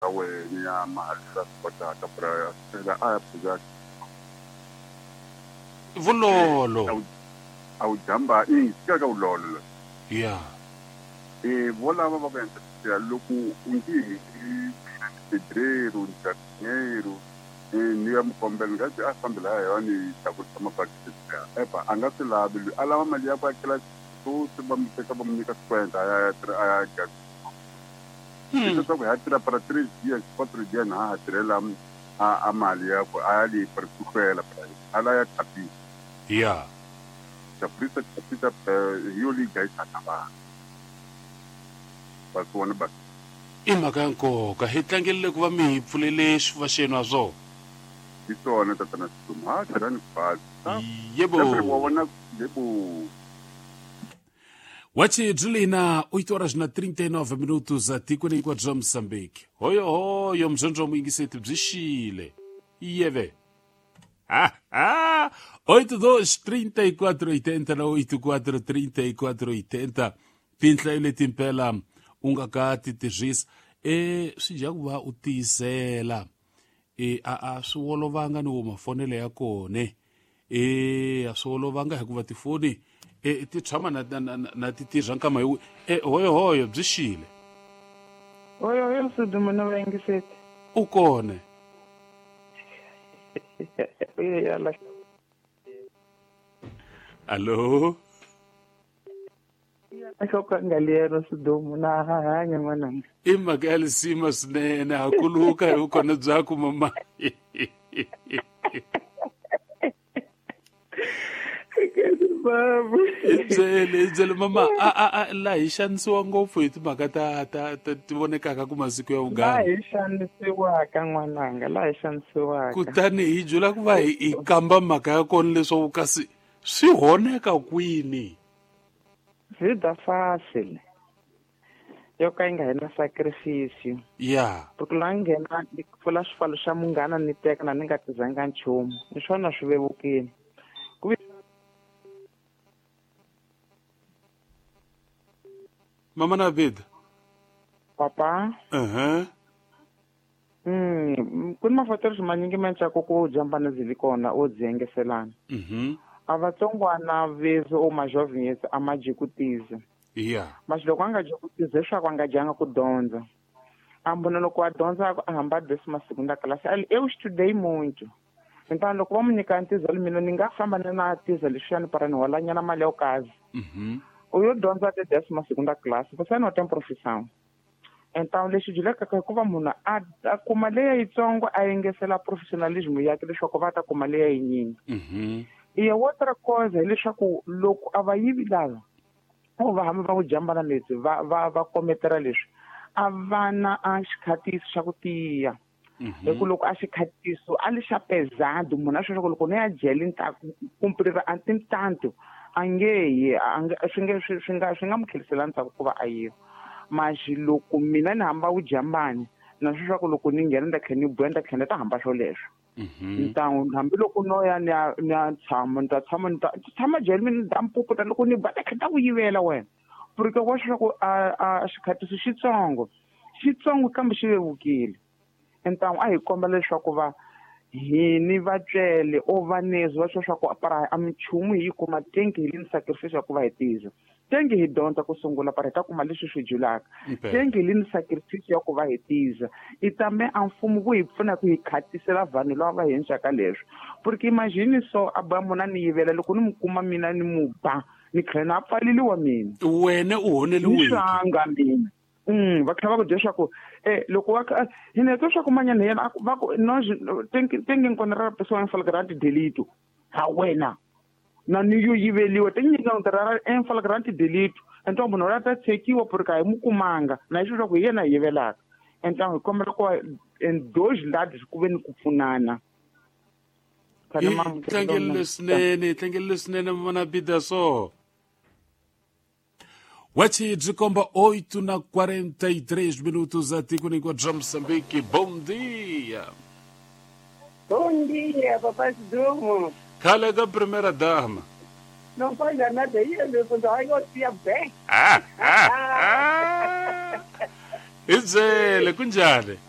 Ta wena ya mali la swi kotaka bra phela a ya phuza. Vulolo. A wu jamba i fika ka vulolo. Ya. E volava va ku endla ya loko u nge hi mina ni pedreiro ni jardineiro ni ya mukombela ni nga a fambi laha ya ni tlakusa mabakiti ya epa a nga swi lavi loyi a lava mali ya ku akela swi va mu teka va mu nyika swikwente a ya a ya leswaku hi ya tirha para 3 dias 4 dias na ha tirhela a mali ya ku a ya le para ku hlwela a la ya chapisa ya chapisa chapisa hi yo leyi dlayisaka vanhu va swi vona ba I mhaka ya nkoka hi tlangelile ku va mi hi pfulele xifuva xenu ha swona. Hi swona tatana Sidumo ha tirhani khwatsi. Yebo. Wa vona yebo. Wachi Julina 8 horas na 39 minutos atikweni hinkwaro bya Mozambique. Hoyo hoyo mzonzo wa muyingiseti byi xile. Yeve. Ha ha 82 34 80 na 84 34 80 tinhlayo leti mpela u nga ka ti tirhisa e swi dya ku va u tiyisela e a a swi olovanga ni wo mafonelo ya kone e a swi olovanga hikuva tifoni e ti tshama na, na, na, na ti tirha nkama hi e hoyo hoyo byi xile. Hoyo hoyo Msudumo na vayingiseti. U kone. Allo. Nhloko Sidumo na ha hanya n'wananga. I mhaka ya lisima swinene ha kuluka hi vukona byaku mama. Hi byele mama a la hi xanisiwa ngopfu hi timhaka ta ta ti vonekaka ku masiku ya vuganga. La hi xanisiwaka n'wananga, la hi xanisiwaka. Kutani hi byela ku va hi kamba mhaka ya kona leswaku kasi swi honeka kwini. Vida fácil. Yo ka yi nga hi na sacrifice. Ya. Porque la nghena ni pfula xifalo xa munghana ni teka na ni nga tizanga nchumu. Ni swona swi vevukile. Ku Mama na Vida. Papa. Ku ni mafatelo manyingi ma ntsako ku jambana zili kona o dzengeselana. A vatsongwana vezo o majovens a ma jikutize. Yeah. Mas loko a nga jikutize leswaku a nga dyanga ku dyondza. A mbona loko a dyondza a hamba décima segunda classe, ali eu estudei muito. Então loko va mu nyika ntiza mina ni nga famba ni na tiza leswiyani para ni holanyana mali yo kazi. U yo dyondza te décima segunda classe, você não tem profissão. Então lexi byelekaka hikuva munhu a kuma leya yitsongo a yengesela professionalism yakhe leswaku va ta kuma leya yinyingi. E outra coisa hileswaku loko a va yivi lava o va hamba va ku jambana leswi va kometela leswi a va na a xikhatiso xa ku tiya. Hi ku loko a xikhatiso a li xa pesado munhu a swi leswaku loko ni ya jele ni ta kumprira a tintanto a nge yi swi nge swi nga mu tlherisela ndzhaku ku va a yiva. Mas loko mina ni hamba vujambani na swi leswaku loko ni nghena ni ta tlhela ni buya ni ta tlhela ni ta hamba swoleswo. Então hambiloko no ya ni ya tshama ni ta tshama ni ta tshama jele mina ni ta mpuputa loko ni ba ta tlhela ta ku yivela wena. Porque wa swi ku a xikhatiso xitsongo xitsongo kambe xi vevukile. Então a hi komba leswaku va hini vatswele o vanezi va swa swa para a minchumu hi yi kuma tengi hi lini sacrifice ya ku va hi tiza. Tengi hi dyondza ku sungula para hi ta kuma leswi swi julaka. Tengi hi lini sacrifice ya ku va hi tiza. I tame a mfumo ku hi pfuna ku hi khatisela vanhu lava va hi endlaka leswi. Porque imagine so a ba munhu a ni yivela loko ni mu kuma mina ni mu ba ni tlhela na pfaleliwa mina. Wena u honeliwile. Ni swanga mina. Va tlhela va ku byela leswaku loko wa hina twa swa ku manyana yena va ku no tengi encontrar a pessoa em flagrante delito. Ha wena na ni yo yiveliwa tengi encontrar em flagrante delito. Então munhu loyi a ta tshekiwa porque a hi mu kumanga na hi leswaku hi yena hi yivelaka. Então hi kombela ku en dois lados ku ve ni ku pfunana. Hi tlangelile swinene, hi tlangelile swinene mama Bida so. Wachi byi 8 na 43 minutos atikweni hinkwaro bya Mozambique. Bom dia. Bom dia, papai Sidumo. Khale ka primeira dama. Não faz nada aí, meu filho. Eu te bem. Hi byele kunjhani?